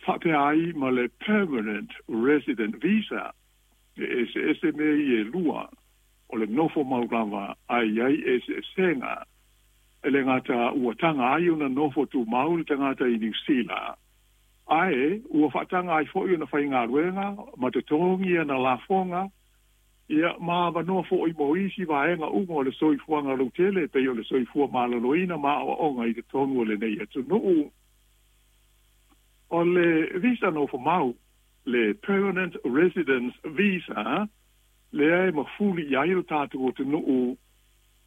Faapea ai ma le Permanent Resident Visa, e eseese mea ia e lua, o le nofo mau lava ae i ai eseesega. E le gata ua taga ai ona nofo tumau le tagata i Niu Sila, ae ua faataga ai foi ona faigaluega ma totogi ana lafoga, ia, ma avanoa foi mo isi vaega uma o le soifuaga lautele e pei o le soifua maloloina ma aoaoga i totonu o lenei atunuu. O le visa nofomau, le Permanent Residence Visa, lea e mafuli i ai lo tatou atunuu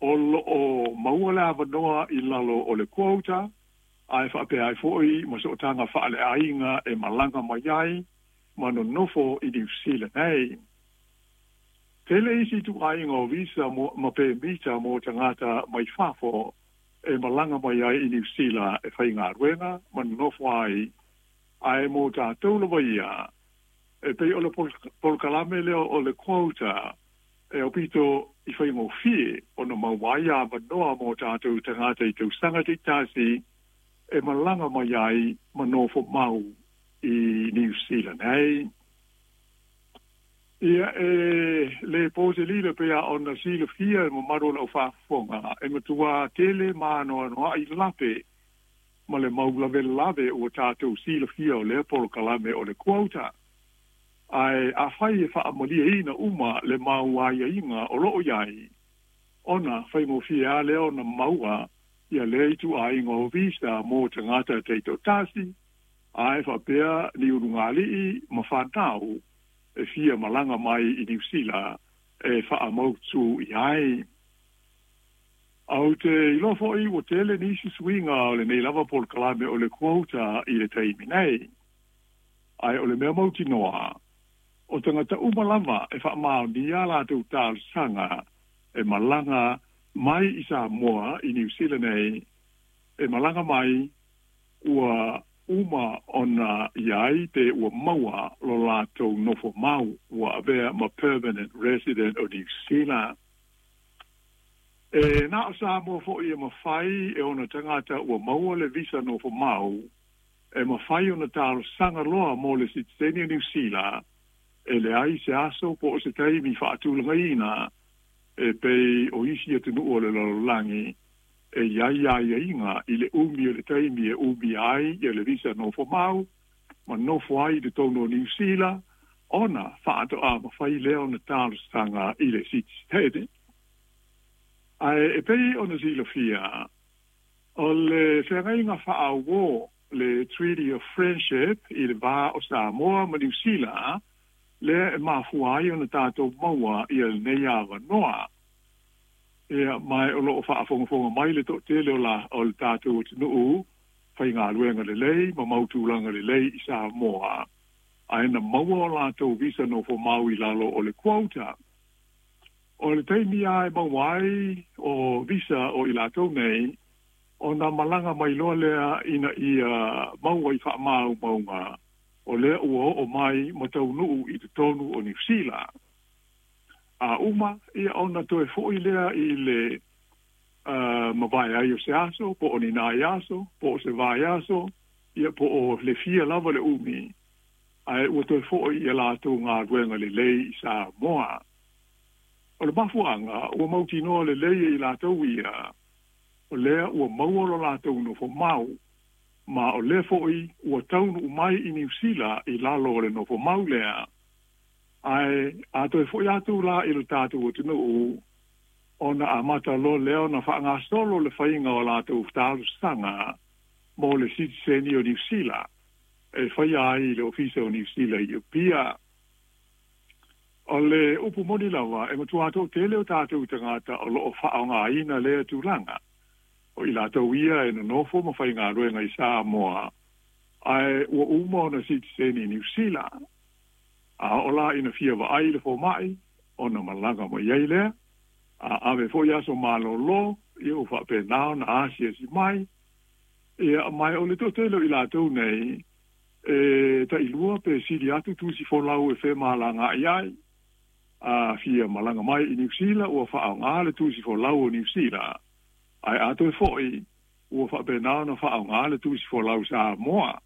o lo o maua le avanoa i lalo o le quota, ae faapea ai foi ma sootaga faaleaiga e malaga mai ai ma nonofo i Niu Sila nei. Tele isi ituaiga o visa ma pemita mo tagata mai fafo e malaga mai ai i Niu Sila e faigaluega ma nonofo ai, ae mo tatou lava ia, e pei o le polokalame lea o le quota e aupito i faigofie ona maua ai avanoa mo tatou tagata i tausaga taitasi e malaga mai ai ma nofo mau i Niu Sila nei. Ia, e le po se lilo pei lava ona silafia e le mamalu o lau faafofoga, e matua tele ma anoanoai lape ma le mau lavelave ua tatou silafia o lea polokalame o le quota. Ae afai e faamalieina uma le mau aiaiga o lo o i ai, ona faigofie lava lea ona maua ia lea ituaiga o visa mo tagata taitoatasi, ae faapea ni ulugalii ma fanau e fia malaga mai i Niu Sila e faamautu i ai. Ou te iloa foi ua tele nisi suiga o lenei lava polokalame o le quota i le taimi nei. Ae o le mea mautinoa, o tagata uma lava e faamaonia a latou talosaga e malaga mai i Samoa i Niu Sila nei, e malaga mai ua uma ona i ai pe ua maua lo latou nofo mau ua avea ma permanent resident o Niu Sila. E na o Samoa foi e mafai e ona tagata ua maua le visa nofo mau e mafai ona talosaga loa mo le sitiseni o Niu Sila e leai se aso po o se taimi faatulagaina e pei o isi atunuu o le lalolagi e i ai aiaiga i le umi o le taimi e umia ai ia le visa nofo mau ma nofo ai i totonu o Niu Sila ona faatoa mafai lea ona talosaga i le sitiseni. Ae e pei ona silafia, o le feagaiga faaauō, le Treaty of Friendship i le va o Samoa ma Niu Sila, lea e mafua ai ona tatou maua ia lenei avanoa. Ia, ma o lo o faafogafoga mai le toatele o la, o le tatou atunuu faigaluega lelei ma mau tulaga lelei i Samoa, ae na maua o latou visa nofo mau i lalo o le quota. O le taimi lava e maua ai o visa o i latou nei, ona malaga mai loa lea ina ia maua i faamaumauga o lea ua oo mai ma taunuu i totonu o Niu Sila. A uma, ia ona toe foi lea i le mavae ai o se aso, po o ni nai aso, po o se vaiaso, ia po o le fia lava le umi, ae ua toe foi i a latou galuega lelei i Samoa. O le mafuaaga ua mautinoa lelei e i latou ia, o lea ua maua lo latou nofo mau, ma o lea foi ua taunuu mai i Niu Sila i lalo o le nofo mau lea. Ae a toe foi atu la i lo tatou atunuu, ona amata loa lea ona faagasolo le faiga o latou talosaga mo le sitiseni o Niu Sila e faia ai i le Ofisa o Niu Sila i Apia. O le upu moni lava, e matua toatele o tatou tagata o lo o faaaogaina lea tulaga. O i latou ia e nonofo ma faigaluega i Samoa, ae ua uma ona sitiseni i Niu Sila. A oo la ina fia vaai i le fomai, ona malaga mai ai lea. A ave foi aso malolo, ia ua faapena ona asiasi mai. Ia, ma o le toatele o i latou nei, e tailua pe sili atu tusi folau e femalagaai ai. A fia malaga mai i Niu Sila, ua faaaoga le tusi folau o Niu Sila, ae a toe foi, ua faapena ona faaaoga le tusi folau Samoa.